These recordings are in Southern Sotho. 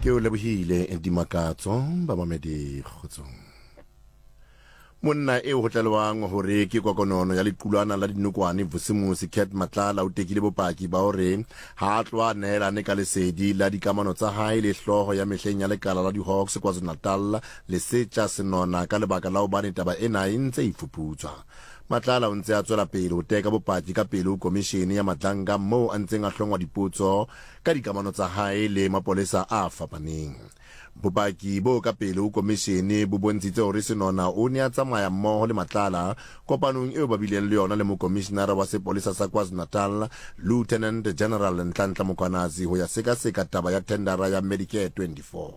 Ke o lebohile Dimakatso, bamamedi kgotsong. Monna eo ho tlalewang hore ke kokonono ya lequlwana la dinokwane Vusimusi Cat Matlala o tekile bopaki ba hore ha a tloha a nehelane ka lesedi la dikamano tsa hae le hlooho ya mehleng ya lekala la di-Hawks KwaZulu-Natal Lesetja Senona ka lebaka la hobane taba ena e ntse e fuputswa. Matlala o ntse a tswela pele ho teka bopaki ka pele ho komishene ya Madlanga moo a ntseng a hlongwa dipotso ka dikamano tsa hae le mapolesa a fapaneng. Bopaki bo ka pele ho komishene bo bontshitse hore Senona o ne a tsamaya mmoho le Matlala kopanong eo ba bileng le yona le mokomishinara wa sepolesa sa KwaZulu-Natal, Lieutenant General Nhlanhla Mkhwanazi ho ya sekaseka taba ya thendara ya Medicare 24.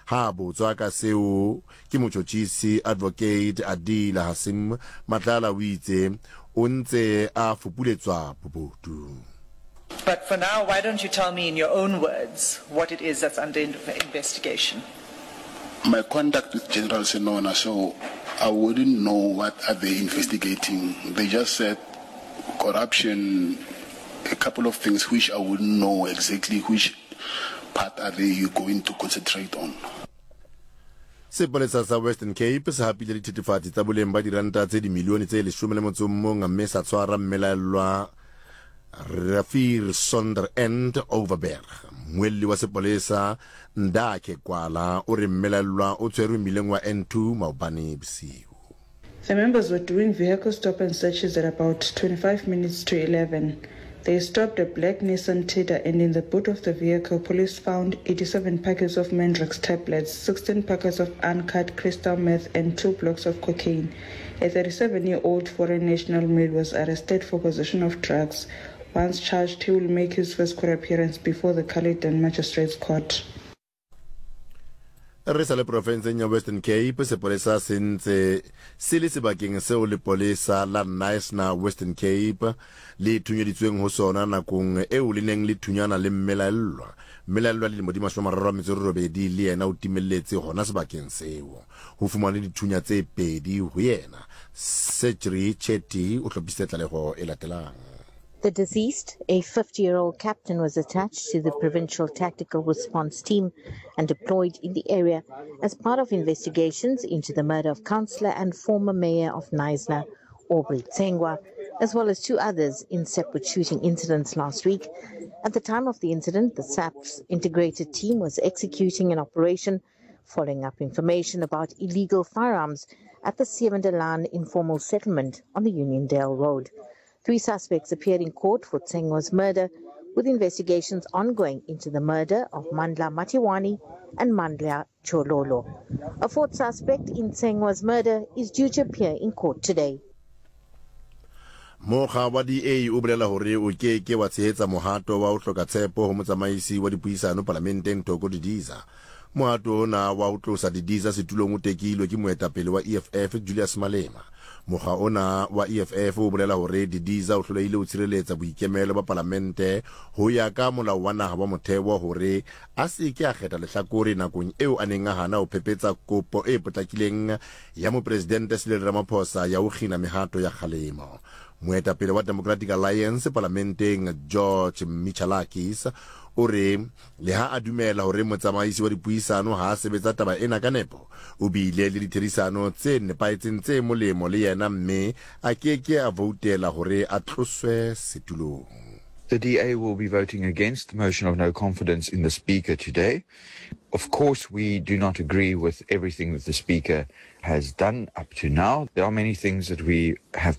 Ha a botswa ka seo ke motjhotjhisi Advocate Adila Hassim, Matlala o itse o ntse a fupuletswa bobodu. But for now, why don't you tell me in your own words what it is that's under investigation? My contact with General Senona, so I wouldn't know what are they investigating. They just said corruption, a couple of things which I wouldn't know exactly which part are they going to concentrate on. Sepolesa sa Western Cape se hapile dithethefatsi tsa boleng ba diranta tse dimilione tse leshome le motso o mong mme sa tshwara mmelaellwa Rafir Sonder End Overberg. Mmuelli wa sepolesa Ndakhe Kwala o re mmelaellwa o tshwerwe mmileng wa N2 maobane bosiu. The members were doing vehicle stop and searches at about 25 minutes to 11. They stopped a black Nissan Tiida and in the boot of the vehicle, police found 87 packets of Mandrax tablets, 16 packets of uncut crystal meth and two blocks of cocaine. A 37-year-old foreign national male was arrested for possession of drugs. Once charged, he will make his first court appearance before the Caledon Magistrates Court. Re sa le profenseng ya Western Cape, sepolesa se ntse se le sebakeng seo lepolesa la Knysna Western Cape le thunyeditsweng ho sona nakong eo le neng le thunyana le mmelaellwa. Mmelaellwa dilemo di 38 le yena o timelletse hona sebakeng seo. Ho fumanwe dithunya tse pedi ho yena. Sejri Chetty o hlophisitse tlaleho e latelang. The deceased, a 50 year old captain, was attached to the Provincial Tactical Response Team and deployed in the area as part of investigations into the murder of councillor and former mayor of Knysna, Aubrey Tsengwa, as well as two others in separate shooting incidents last week. At the time of the incident, the SAP's integrated team was executing an operation following up information about illegal firearms at the Sievendelaan informal settlement on the Uniondale Road. Three suspects appeared in court for Tsengwa's murder, with investigations ongoing into the murder of Mandla Matiwani and Mandla Chololo. A fourth suspect in Tsengwa's murder is due to appear in court today. Mokga wa DA o bolela hore o ke ke wa tshehetsa mohato wa ho hloka tshepo ho motsamaisi wa dipuisano palamenteng Thoko Didiza. Mohato ona wa ho tlosa Didiza setulong o tekilwe ke moetapele wa EFF Julius Malema. Mokga ona wa EFF o bolela hore Didiza o hlolehile ho tshireletsa boikemelo ba palamente ho ya ka molao wa naha wa motheo hore a se ke a kgetha lehlakore nakong eo a neng a hana ho phephetsa kopo e potlakileng ya Mopresidente Cyril Ramaphosa ya ho kgina mehato ya kgalemo. Moetapele wa Democratic Alliance palamenteng George Michalakis o re leha a dumela hore motsamaisi wa dipuisano ha a sebetsa taba ena ka nepo, o bile le ditherisano tse nepahetseng tse molemo le yena mme a ke ke a voutela hore a tloswe setulong. The DA will be voting against the motion of no confidence in the Speaker today. Of course, we do not agree with everything that the Speaker has done up to now. There are many things that we have been